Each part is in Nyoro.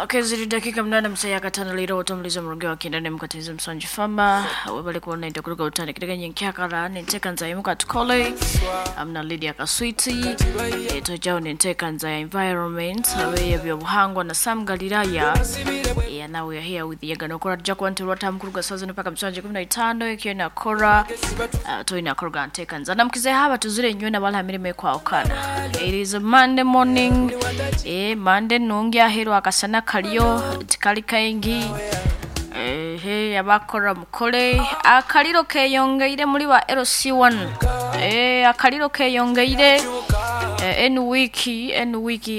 Keziri dakika 8 msaya katano lero otomuliza murungi wa kindane mukatiriza musanju fama webale kuona itakuruka utane kiteganya nkyakala nenteka nza imuka tukole amna Lydia Kaswiti tojao nenteka nza ya environment awe ebyobuhangwa na Sam Galilaya. Yeah, now we are here with Yagano Kora Jack 1 Rota mkuruga sazo mpaka msanje 15 ikiwa na Kora toina Kora nteka nza namkize haba tuzire nywe na bala mirime kwa okana. It is a Monday morning. Monday nungi ahero akasana kaliyo tikali kaingi. Ehe abakora mukole akaliro keyongeire muri wa LC1. Akaliro keyongeire en wiki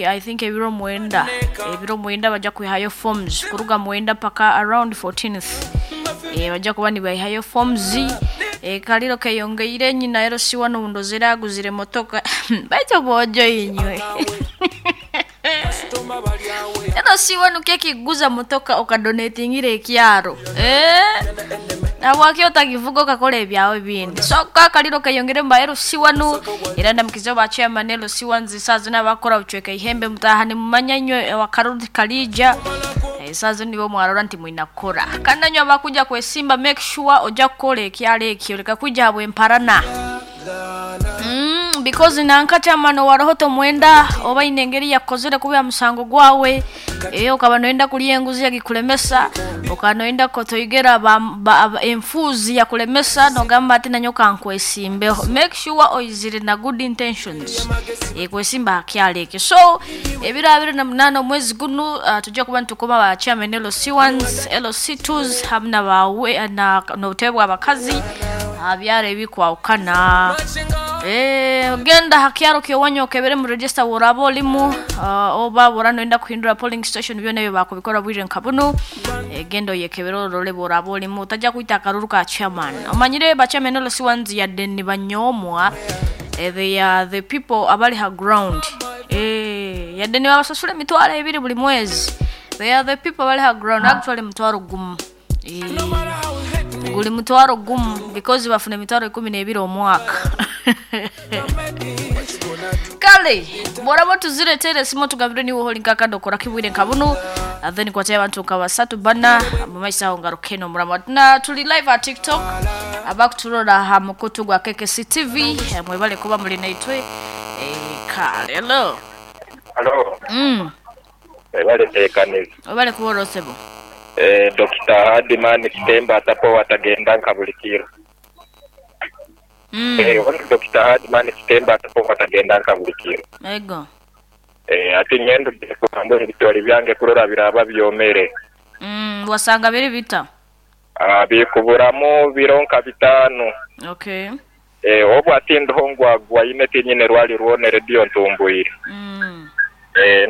I think ebiro mwenda bajja kwihayo forms kuruga mwenda paka around 14th. Bajja kuba nibayihayo forms. Kaliro keyongeire nyina LC1 ndozera aguzire motoka baito bojo inywe. LC1 keki guza motoka okadonatingire ekyaro. Nabwaki otakivuga okakola ebyawe bindi. So kakaliro keyongere mba LC1 era ndamukizo ba chairman LC1 zisazo n'abakora bucweka ihembe mutahane mumanya inywe wakarudi kalija. Sazo nibo mwarora nti mwinakora. Kandi nanywe abakuja kwesimba make sure oja kukola ekyalo ekyo leka kuja habwe emparana. Because nanka chairman waroho mwenda oba inengeri yakozere kubya musango gwawe okaba noenda kuliya enguzi yakikulemesa okanoenda kotoigera enfuzi yakulemesa nogamba ati nanyoka nkwesimbeho. Make sure oizire na good intentions kwesimba akyaleke. So ebiro 28 omwezi guno tujja kuba ntukoma ba chairman LC1s LC2s hamna bawe na notebwa abakazi abyara ebikwawukana. Genda hakyaro kyowanyo okebere mu register woraba olimu oba boranoenda kuhindura polling station byona ebyo bakubikora bwire nkabuno. Genda oyekebere orole boraba olimu otajja kwita akaruru ka chairman. Omanyire ba chairman LC1s yadde ni banyomwa. They are the people abali ha ground. Yadde ni babasasula emitwalo ebiri buli mwezi. They are the people abali ha ground actually mutwalo gumu. Guli mutwalo gumu because bafuna emitwalo 12 omwaka. Kale borabo tuziretere simo tugabire ni woholi nkakando kora kibwire nkabuno then kwatya abantu nkabasatu bana mu maisa aho ngarukeno murama na tuli live at TikTok abakuturora ha mukutu gwa KKC TV mwebale kuba muri naitwe. Kale hello hello. Ebale tekaniza obale kuborosebo. Dr. Hadimani Kitemba atapo watagenda nkabulikiro. Dr. Hadimani Kitemba atapo watagenda nkabulikiro. Ego. Ati ngendo kukambwe ebitwali byange kurora biraba byomere. Wasanga biri bita? Bikuburamu bironka bitano. Okay. Obu ati ndoho ngwagwa ine tinyine rwali ruone radio ntumbuire.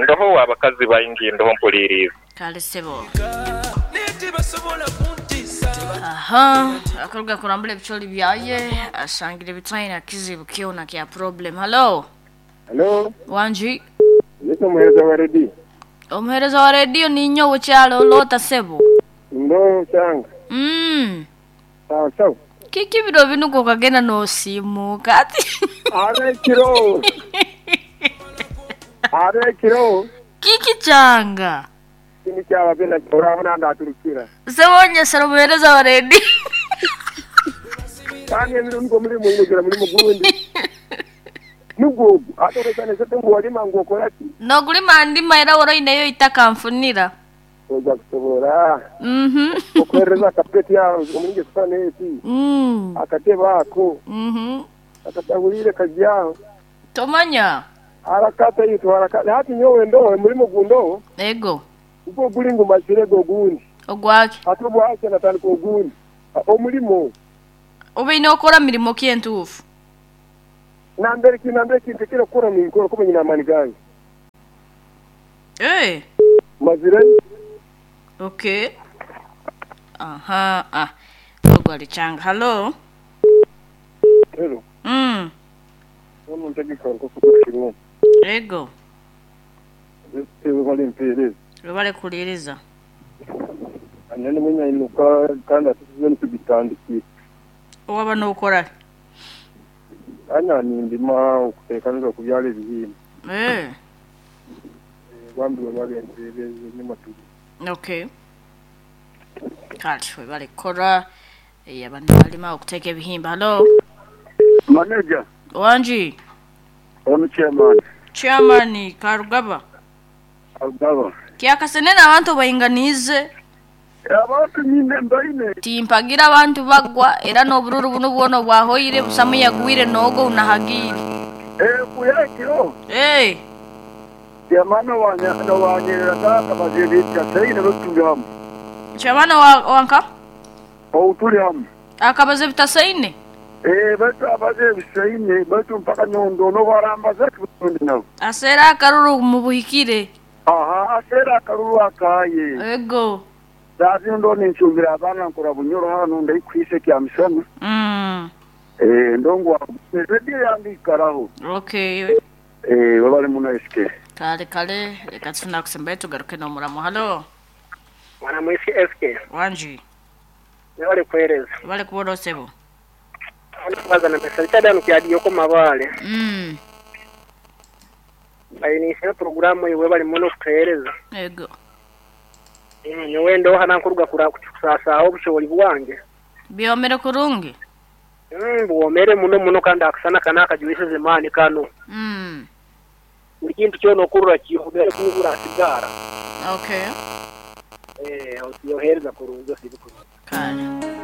Ndoho abakazi baingi ndoho mpuliriza. Kale sebo. Aha, akaruga kurambula ebicholi byaye asangire bitayina kizibu kiona kya problem. Hello. Hello. Wanji. Nito muhereza wa radio. Omuhereza wa radio ni nyowe kyalo lota sebo. Ndo changa. Sawa sawa. Kiki biro binuko kagenda no simu kati. Are kiro. Are kiro. Kiki changa. Kini kyaba bena urabona ndaturukira. Sebonye sero muhereza wa radio. Kandi emirundi muri mu muri mugundi. Nugo atorezane sete ngo walima ngo okora ki? No gulima ndima era woro ineyo itakamfunira. Oja kusobora. Okwereza kapeti ya omulinge saneti. Akateba ako. Akatagulire kajyaho. Tomanya. Harakata yitu harakata hati nyowe ndo muri mugundo. Ego. Ubwo gulingo mazire gogundi. Ogwaki. Atubwake natandika ogundi. Omulimo. Obe inokora mirimo ki entufu? Nambere kintekera kukora minkoro kumenya namani gange. Mazire. Okay. Aha, ah. Ogwali changa. Hello. Hello. Ono ntegeka nkokushirwa. Ego. Ewe bali mpeleza. Rubale kuliriza. Anene mwenya inuka kandi atuzize ntubitandikire. Owaba nokora. Anya nindima okutekaniriza kubyala ebihimba. Bambi babagendereza enyuma tuli. Okay, kale webale kukora. Abantu balima okuteeka ebihimba. Halo. Manager. Wangi. Onu chairman. Chairman Karugaba. Alugaba. Kyakasenene abantu bainganize. Abantu nyine mbaine. Timpagira abantu bagwa era n'obururu buno bwona bwahoire busamu yagwire nogo unahagire. Kuyakiro. Hey. Chairman wanya wanyerera kaka bazebita sayine batuli hamu. Chairman wa wanka? Outuli hamu. Akabaze bitasaine? Batu abaze bisaine batu mpaka nyondo no barambaza kibundi nabo. Asera akaruru mubuhikire. Aha, asera akaruru akaye. Ego. Dazi ndo ninchumbira abana nkora bunyoro hano ndayikwise kya misana. Ndongwa radio yange ikaraho. Okay. Babale muna SK. Kale kale reka tufuna kusembaye tugaruke no muramo. Halo. Mwana mwisi SK. Wanji. Wale kueleza. Wale kubona osebo. Kubaza na mesa chada nukyadiyo ko mabale. Bayinise programu iwe bali muno kutereza. Ego. Nyowe ndo hana nkuruga kura kusasa obushoboli bwange. Byomere kurungi. Buomere muno muno kandi akusana kana akajuise zemani kano. Buli kintu kyono okurura kiyobere kubura sigara. Okay. Oyohereza kurungi osibikuru. Kale.